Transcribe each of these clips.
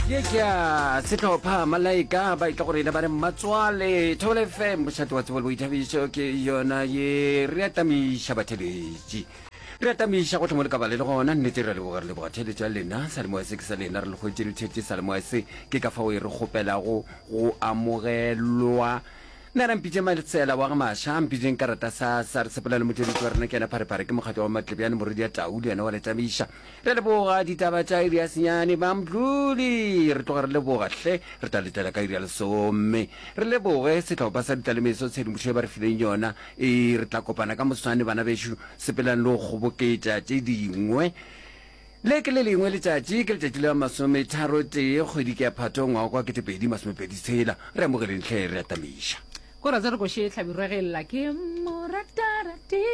Ye ke ya sehlopha Malaika ba etla go rena ba re Mmatswale Thobela FM mošate wa tsebo le boithabišo ke yona ye re atamiša batheletši re atamiša gohle mo le ka ba le le gona nnete re leboga re leboga theletšo ya lena salemoya se ke sa lena re le hwetše le thetše salemoya se ke ka fao e re kgopelago go amogelwa nna ra mpitše Maletsela wa ga Masha mpitšeng karata sa sa re sepela le motšweletši wa rena ke yena Pharephare ke mokgatlo wa Matlebjane morwedi ya Tau le yena wa le tamiša Re leboga ditaba tša iri ya senyane ba Mdluli. Re tloga re leboga hle. Re tla letela ka iri ya lesome. Re leboge sehlopha sa ditlalemeso tshedimošo e ba re fileng yona. E re tla kopana ka moswane bana bešo. Sepelang le go kgoboketša tše dingwe. Le ke le lengwe letšatši, ke letšatši la masometharotee kgwedi ke ya Phato ngwaga wa 2026. Re amogeleng hle re atamiša. Ko ra tsere koše hlabirwa ge lla ke moratarati.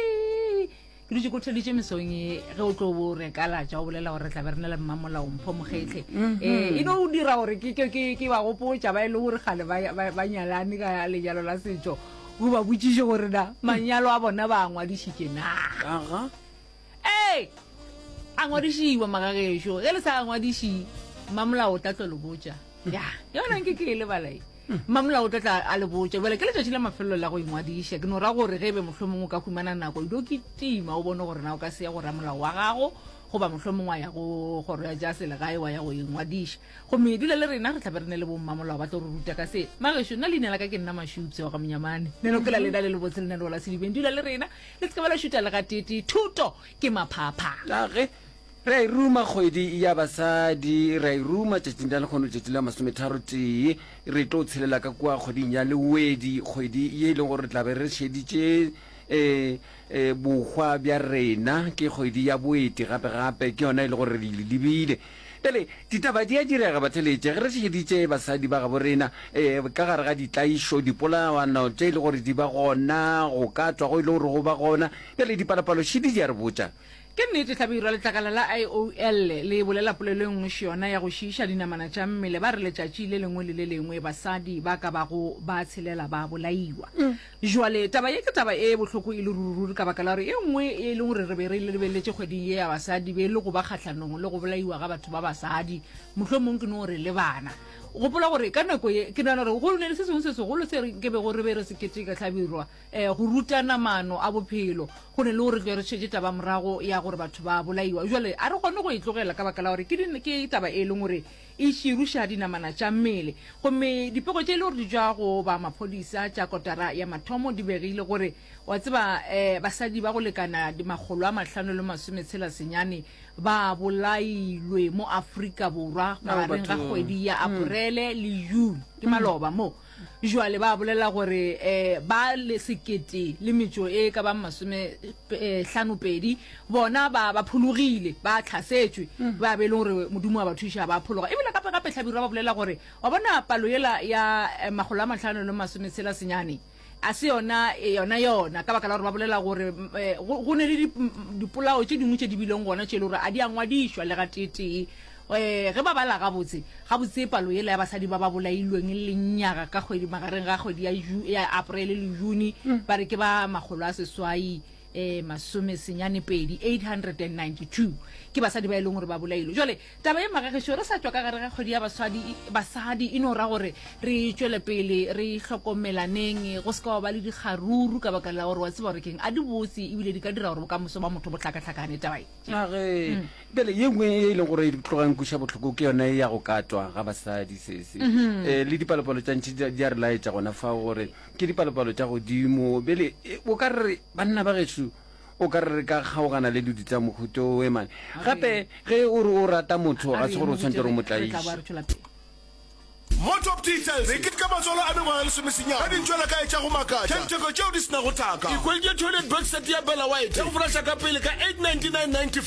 Ke dutše ko theleditše mesong e ge o tlo bo re kalatša o bolela gore re tla be re na le mmamolao Mpho Mokgetle. Mm -hmm. E no dira gore ke ke ke ke ba gopotša ba e le gore kgale ba ba, ba nyalane ka lenyalo la setšo. O ba botšiše gore na manyalo a bona ba a ngwadišitše na. Aha. Ee, a ngwadišiwa magagešo. Ge le sa ngwadiši mmamolao o tla tlo le botša. Ya, yona nke ke e lebala e. Mmamolao o tla tla a le botša. Bjale ke letšatši la mafelelo la go ingwadiša. Ke no ra gore ge e be mohlomongwe o ka humana nako, o kitima o bone gore na o ka se ye go ramolao wa gago goba mohlomongwe wa ya go kgoro ya tša selegae wa ya go ingwadiša. Gomme dula le rena, re tla be re ne le bommamolao ba tlo re ruta ka se. Magešo, nna leina la ka ke nna Mašupse wa ga Monyamane. Neno ke la lena le lebotse lenaneo la Sedibeng. Dula le rena, le se ke ba la šuta le gateetee. Thuto ke maphapha. A ge Re a e ruma kgwedi ya basadi, re a e ruma tšatšing la lehono, tšatši la masometharotee. Re tlo tshelela ka kua kgweding ya Lewedi, kgwedi ye e leng gore re tla be re šeditše e, e, bohwa bja rena. Ke kgwedi ya boeti gape-gape, ke yona e le gore re e lebile. Bjale, ditaba di a direga, batheletše, ge re šeditše basadi ba gabo rena e, ka gare ga ditlaišo, dipolawano tše e le gore di ba gona, go ka tšwa go e le gore go ba gona. Bjale, dipalopalo šedi di a re botša. Ke nnete, Hlabirwa, letlakala la IOL le bolela polelo e nngwe še-yona ya go šiiša dinamana tša mmele. Ba re letšatši le lengwe le le lengwe basadi ba ka bago ba tshelela ba bolaiwa. Jwale taba ye ke taba e bohloko e le ruri-ruri ka baka la gore e nngwe e leng gore re be re e lebeletše kgweding ye ya basadi be e le go ba kgahlanong le go bolaiwa ga batho ba basadi, mohlomong ke no re le bana. Gopola gore ka nako ye ke nagana gore go ne le se sengwe se segolo se re nke bego re be re se keteka, Hlabirwa. Go rutana maano a bophelo go ne le gore tle re šetše taba morago ya gore batho ba bolaiwa. Jwale a re kgone go e tlogela ka baka la gore ke, ke taba e leng gore e širuša dinamana tša mmele. Gomme dipego tše e le gore di tšwa go ba maphodisa tša kotara ya mathomo di begile gore wa tseba um basadi ba go lekana 569 ba bolailwe mo Afrika Borwa magareng ga kgwedi ya Aporele le June, ke maloba mo. Jwale ba bolela gore um ba le sekete le metšo e ka bang masomehlano-pedi bona ba ba phologile, ba hlasetšwe, ba be e leng gore Modimo wa ba thuša ba phologa. Ebile gape gape Hlabirwa ba bolela gore wa bona palo yela ya 569 a se yona yona yona ka baka la gore ba bolela gore go ne le dipolao tše dingwe tše di bileng gona tše e le gore a di a ngwadišwa le gateetee. Ge ba bala gabotse, gabotse palo yela ya basadi ba ba bolailweng lenyaga ka kgwedi magareng ga kgwedi ya, ya Aprele le Juni, ba re ke ba 800 masomesenyane-pedi, 892, ke basadi ba e leng gore ba bolailwe. Jwale taba ye magagešo, re sa tšwa ka gare ga kgwedi ya basadi, basadi, e no ra gore re tšwele pele re hlokomelaneng, go se ka wa ba le dikgaruru ka baka la gore wa tseba gore keng, a di botse ebile di ka dira gore bokamoso ba motho bo hlakahlakane taba ye. A ge bjale ye nngwe e leng gore e tloga e nkweša bohloko ke yona ya go katwa ga basadi sese. Um le dipalopalo tša ntši di a re laetša gona fao gore ke dipalopalo tša godimo. Bjale o ka re banna ba gešo o ka re re ka kgaogana le dilo tša mohuta owe mane. Gape ge o re o rata motho ga se gore o tshwanetse gore o mo tlaiše. Mo Top Details, re keteka matswalo a mengwaga lesomesenyane ka dintšwelakae tša go makatša, ditheko tšeo di se nago thaka. Ikhweditše toilet box set ya Bella White ya go foraša ka pele ka 899.95.